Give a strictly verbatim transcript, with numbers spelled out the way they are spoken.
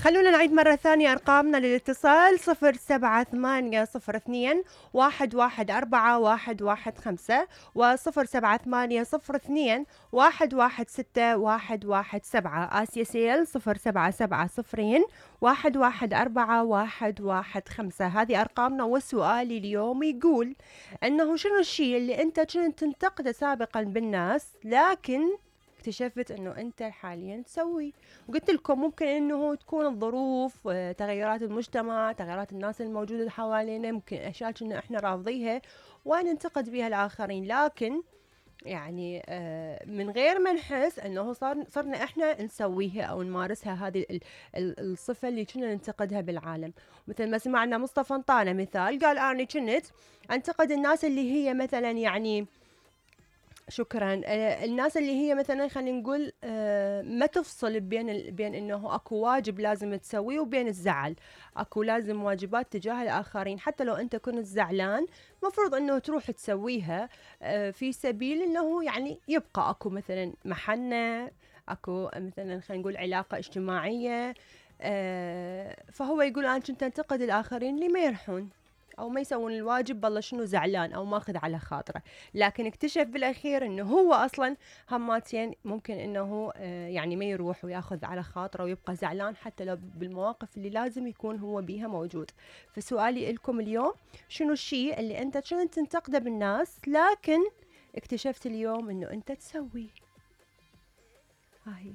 خلونا نعيد مرة ثانية أرقامنا للاتصال: صفر سبعة ثمانية صفر اثنين واحد واحد أربعة واحد واحد خمسة وصفر سبعة ثمانية صفر اثنين واحد واحد ستة واحد واحد سبعة. آسيا سيل صفر سبعة سبعة صفرين واحد واحد أربعة واحد واحد خمسة. هذه أرقامنا. وسؤالي اليوم يقول أنه شنو الشيء اللي أنت كنت تنتقده سابقا بالناس لكن اكتشفت انه انت حاليا تسوي؟ وقلت لكم ممكن انه تكون الظروف، تغيرات المجتمع، تغيرات الناس الموجودة حوالينا، ممكن اشياء كنا احنا رافضيها وننتقد بها الاخرين، لكن يعني من غير ما نحس انه صار صرنا احنا نسويها او نمارسها. هذه الصفة اللي كنا ننتقدها بالعالم. مثل ما سمعنا مصطفى انطانا مثال، قال اني كنت انتقد الناس اللي هي مثلا يعني شكرا آه الناس اللي هي مثلا خلينا نقول آه ما تفصل بين بين انه اكو واجب لازم تسويه وبين الزعل. اكو لازم واجبات تجاه الاخرين، حتى لو انت كنت زعلان مفروض انه تروح تسويها آه في سبيل انه يعني يبقى اكو مثلا محنة، اكو مثلا خلينا نقول علاقة اجتماعية. آه فهو يقول انا كنت انتقد الاخرين اللي ما يرحون او ما يسوون الواجب، بالله شنو زعلان او ماخذ على خاطره، لكن اكتشف بالاخير انه هو اصلا هماتين ممكن انه يعني ما يروح وياخذ على خاطره ويبقى زعلان حتى لو بالمواقف اللي لازم يكون هو بيها موجود. فسؤالي لكم اليوم: شنو الشيء اللي انت كنت تنتقده بالناس لكن اكتشفت اليوم انه انت تسويه؟ هاي